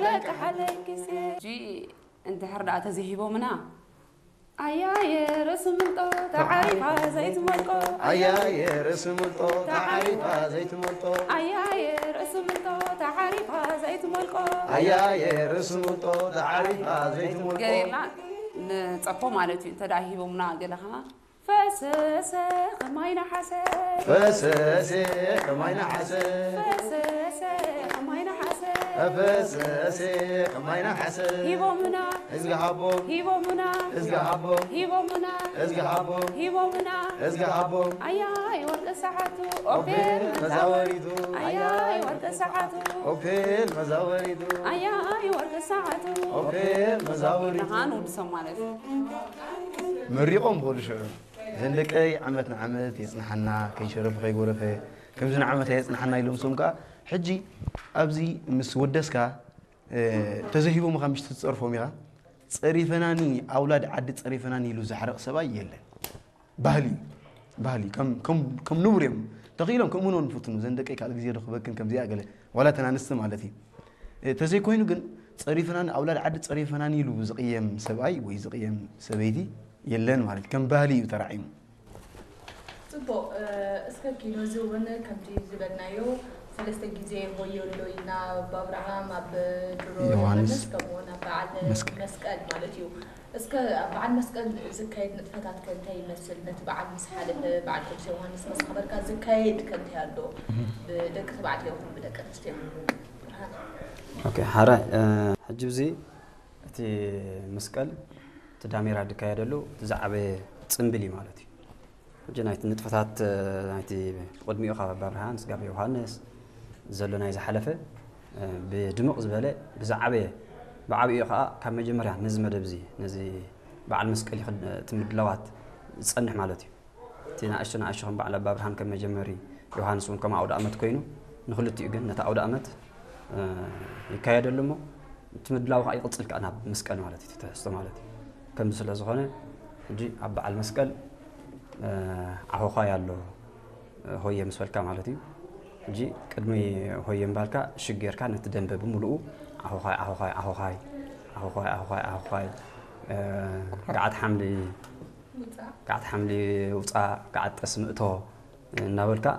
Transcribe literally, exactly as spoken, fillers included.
ለቀሐለይ ክሴ። ጂ እንድሕር ደኣ ተዜሂቦምና፣ አያየ ርእስ ምልጦ ተዓሪፋ ዘይትመልቆ። አያየ ርእስ ምልጦ ተዓሪፋ ዘይትመልጦ። አያየ ርእስ ምልጦ ተዓሪፋ ዘይትመልቆ። አያየ ርእስ ምልጦ ተዓሪፋ ዘይትመልቆ። ገሌላ ንጸፎ ማለት እዩ። እንተ ደኣ ሂቦምና ገለ ከማ ፈሰሰ ከማይ ነሓሰ። ፈሰሰ ከማይ ነሓሰ። ፈሰሰ ከማይ ነሓሰ። ፈሰሰ ከማይ ነሓሰ። ሂቦምና። እዝጊ ሃቦም። ሂቦምና። እዝጊ ሃቦም። ሂቦምና። እዝጊ ሃቦም። ሂቦምና። እዝጊ ሃቦም። አያይ ወርቂ ሰዓቱ ኦፔል ኦፔል መዛወሪቱ። መዛወሪቱ። አያይ ወርቂ ሰዓቱ። ኦፔል መዛወሪቱ። አያይ ወርቂ ሰዓቱ። ኦፔል መዛወሪቱ። ደሃን ውድ ሰብ ማለት እዩ። መሪቖም ብኸሉ ሽዑ፣ "ዘን ደቀይ ዓመት ንዓመት የጽንሓና፣ ከይሸረፈ ከይጎረፈ፣ ከምዚ ንዓመት ኣየጽንሓና" ኢሎም። ሶም ከኣ፣ ሕጂ ኣብዚ ምስ ወደስካ፣ እ፣ ተዘሂቦምኻ ምሽ ትጸርፎም ኢኻ። "ጸሪፈናኒ፣ ኣውላድ ዓዲ ጸሪፈናኒ" ኢሉ ዘሕርቕ ሰብኣይ የለን። ባህሊ፣ ባህሊ፣ ከም፣ ከም፣ ከም ንቡር እዮም። ተኽኢሎም ከምኡ ነው ንፍትኑ። "ዘን ደቀይ ካልእ ግዜ ዶ ክበክን ከምዚኣ" ገለ፣ ዋላ ተን ኣንስቲ ማለት እዩ። እ፣ ተዘይኮይኑ ግን፣ "ጸሪፈናኒ፣ ኣውላድ ዓዲ ጸሪፈናኒ" ኢሉ ዝቕየም ሰብኣይ ወይ ዝቕየም ሰበይቲ የለን ማለት እዩ። ከም ባህሊ እዩ ተራዒሙ። ጽቡቕ፣ እ፣ እስከ ኪኖ ዝውን ከምቲ ዝበልናዮ ሰለስተ ግዜ ሆዮ ኣሎ ኢልና፣ ኣብ ኣብርሃም፣ ኣብ ድሮ ዮሃንስ፣ ዮሃንስ፣ ከምኡውን ኣብ በዓል መስቀል። መስቀል ማለት እዩ። እስከ ኣብ በዓል መስቀል ዝካየድ ንጥፈታት ከ እንታይ ይመስል? ነቲ በዓል ምስ ሓለፈ፣ በዓል ቅዱስ ዮሃንስ ምስ ኣኽበርካ ዝካየድ ከ እንታይ ኣሎ? እህ። ብደቂ ተባዕትዮ ይኹን ብደቂ ኣንስትዮ? ኦኬ፣ ሓራይ፣ እ፣ ሕጂ ብዚ እቲ መስቀል፣ እቲ ዳሜራ ዝካየደሉ፣ እቲ ዝዓበየ ጽምብል እዩ ማለት እዩ። ሕጂ ናይቲ ንጥፈታት፣ ናይቲ ቅድሚኡ ካብ ኣባ ብርሃን ስጋብ ዮሃንስ ዘሎ ናይ ዝሓለፈ፣ ብድምቕ ዝበለ ብዝዓበየ፣ ብዓቢኡ ከኣ ካብ መጀመርያ ነዚ መደብ እዚ፣ ነዚ በዓል መስቀል ይኽድ-፣ እቲ ምድላዋት ዝጸንሕ ማለት እዩ። እቲ ንኣሽቱ ንኣሽቱ ከም በዓል ኣባ ብርሃን ከም መጀመሪ፣ ዮሃንስ እውን ከም ኣውደ ኣመት ኮይኑ፣ ንክልቲኡ ግን ነቲ ኣውደ ኣመት፣ እ፣ ይካየደሉ እሞ፣ እቲ ምድላው ከኣ ይቕጽል ከኣ ናብ መስቀል ማለት እዩ፣ እቲ ትሕዝቶ ማለት እዩ። ከምዚ ስለ ዝኾነ፣ ሕጂ ኣብ በዓል መስቀል፣ እ፣ ዓኾዃይ ኣሎ፣ እ፣ ሆየ ምስ በልካ ማለት እዩ። ሕጂ ቅድሚ ሆየ ምባልካ ሽግ ጌርካ ነቲ ደንበ ብምሉኡ ዓኾዃይ፣ ዓኾዃይ፣ ዓኾዃይ፣ ዓኾዃይ፣ ዓኾዃይ፣ ዓኾዃይ፣ እ፣ ገዓት ሓምሊ፣ ውጻእ። ገዓት ሓምሊ ውጻእ፣ ገዓት ጠስሚ እቶ እናበልካ